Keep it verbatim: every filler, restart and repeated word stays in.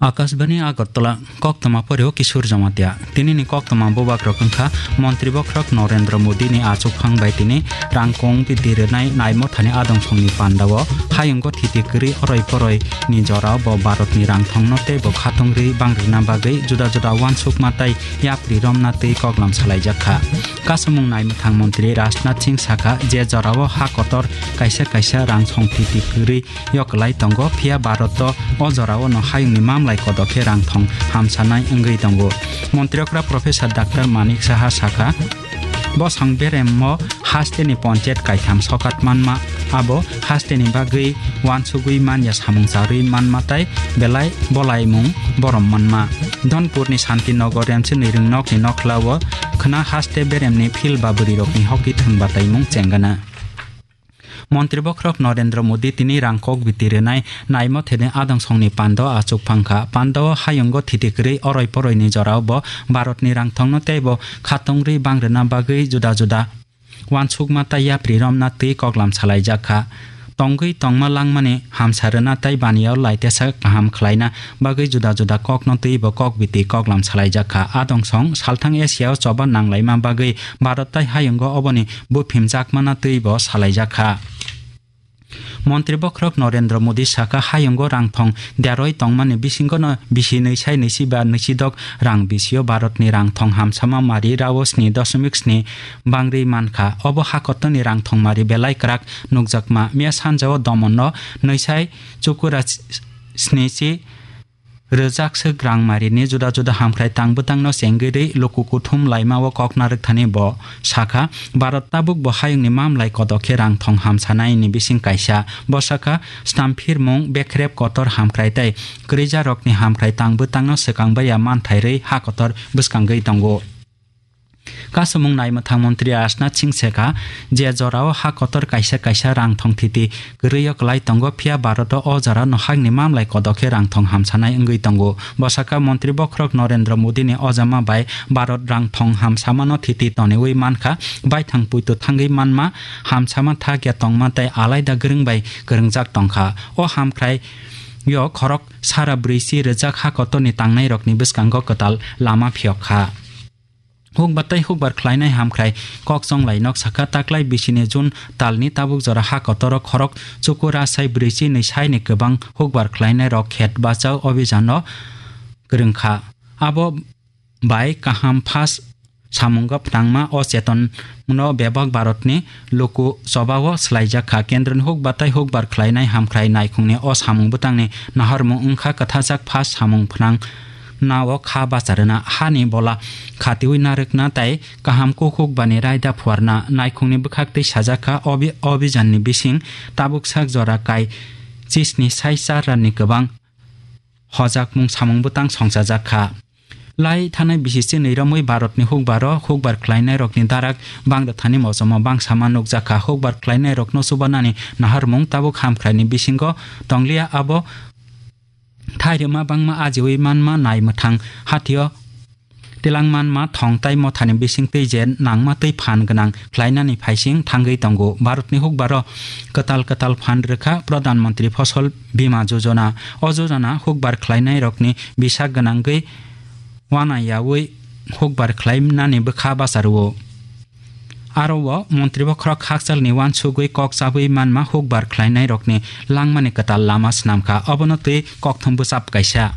Akashbani Agartala, koktwma poreo Kishore Jamatia. Tinini koktwma bubagrok wngkha Montri Bokhorok Narendra Modi ni achukphang bai tini rangkong biti rwnai naimothani adong songni pandao hayungo thiti kwrwi oroi poroi ni jorao bo Bharat ni rangthongno tei bo khatungri bangrina bagwi juda juda uansukma tei yapri romna twi koklam salaijak kha. Kasamung naimwthang montri Rajnath Singh sakha, je jorao ha kotor kaisa kaisa rang song thiti kwrwi yoklai tongo, phiya Bharat o jorao no hayungni mamlai kodok khe rangthong hamsanai wngwi tongo. Montri okra Professor Doctor Manik Saha sakha, bosong beremo hasteni ponchayat kaitham sokat manma, abo hasteni bagwi uansugwi manya samung charwi manma tei belai bolaimung borom manma. Dhonpurni Santinagar Remchini ringnokni nokhlao khwna haste beremni phil ba bwrwirokni hoki thwng bataimung chengana. Montri Bokhorok Narendra Modi tini rang kok biti rwnai naimo thene adong songni pando achuk phangkha. Pando o hayungo thiti kwrwi oroi poroi ni jorao bo Bharat ni rangthongno tei bo khatungri bangrwna bagwi juda juda uansukma tei yapri romna twi koklam salaijak kha. Tongwi tongma langmani hamsa rwna tei baniya o laitesa kaham khlaina bagwi juda juda kokno twi bo kok biti koklam salaijak kha. Adong song salthang Asia o choba nanglaima bagwi Bharat tei hayungo oboni buphimjakmana twi bo salaijak kha. Montri Bokhorok Narendra Modi sakha, hayungo rangthong deroi tongmani bisingono bisi nwi sai nwi si ba nwi si dok rang bisio Bharatni rangthong hamsama mari rao sni doshmik sni bangri mankha. Obo hakotoni rangthong mari belai kwrak nukjakma. Miya sanjao Domonno nwi sai chukura sni si rwjak swk rangmarini juda juda hamkrai tang bwtangno chengwi rwi luku kuthum laimao kok narwkthani bo sakha, Bharat tabuk bo hayungni mamlai kodok khe rangthong hamsanaini bising kaisa. Bo sakha, stamphirmung, bekrep kotor hamkrai tei kwrwijarokni hamkrai tang bwtangno swkang baiya manthai rwi ha kotor bwskangwi tongo. Kasumung naimwthang montri Rajnath Singh sekha, je jorao ha kotor kaisa kaisa rang thong thiti kwrwi o kwlai tongo, phiya Bharat o o jora no hakni mamlai kodok khe rang thong hamsanai wngwi tongo. Bo sakha, montri bokhorok Narendra Modi ni ojama bai Bharat rang thong hamsamano thiti toniwi mankha, baithang puitu thangwi manma, hamsama thak ya tongma tei alaida gwrwng bai kwrwngjak tongkha. O hamkrai yo khorok sara brwichi rwjak ha kotor ni tangnai rokni bwskango kwtal lama phiyok kha. Hukbar tei hukbar khlainai hamkrai kok chonglai nok sakha, taklai bisini June talni tabuk jora ha kotoro khorok chuku rasai brwichi nwi saini kwbang hukbar khlainai rok khet bachao obhijano kwrwngkha. Abo bai kaham phas samungo phnangma o cheton no bebak Bharatni luku chobao swlaijak kha. Kendroni hukbar tei hukbar khlainai hamkrai naikhungni o samung bwtangni naharmung wngkha kwthajak phas samung phnang nao kha bacharwna, hani bola khatiwi narwkna tei kaham kukhuk bani raida phuarna. Naikhungni bwkhak tei sajak kha, obi-, obijanni bising tabuk sak jora kai chisni sai char ranni kwbang hojakmung samung bwtang songchajak kha. Lai thanai bisi chinwi romwi Bharatni hukbaro hukbar khlainairokni darak bangda thani mosomo bangsama nukjak kha. Hukbar khlainairokno chubanani naharmung tabuk hamkraini bisingo tongliya, abo thairima bangma ajiwi manma nai mwthang hatio tilang manma thong tai mothani bising twi je nangma twi phan gwnang khlainani phaising thangwi tongo. Bharatni hukbaro kwtal kwtal phan rwkha Pradhan Mantri Fasal Bima Jojona. O jojona hukbar khlainairokni bisa gwnangwi wanayawi hukbar khlainani bwkha bacharwo. Aro o montri bokhorok hakchalni uansugwi kok chabwi manma hukbar khlainairokni langmani kwtal lama swnamkha. Obono twi kokthum bwchap kaisa.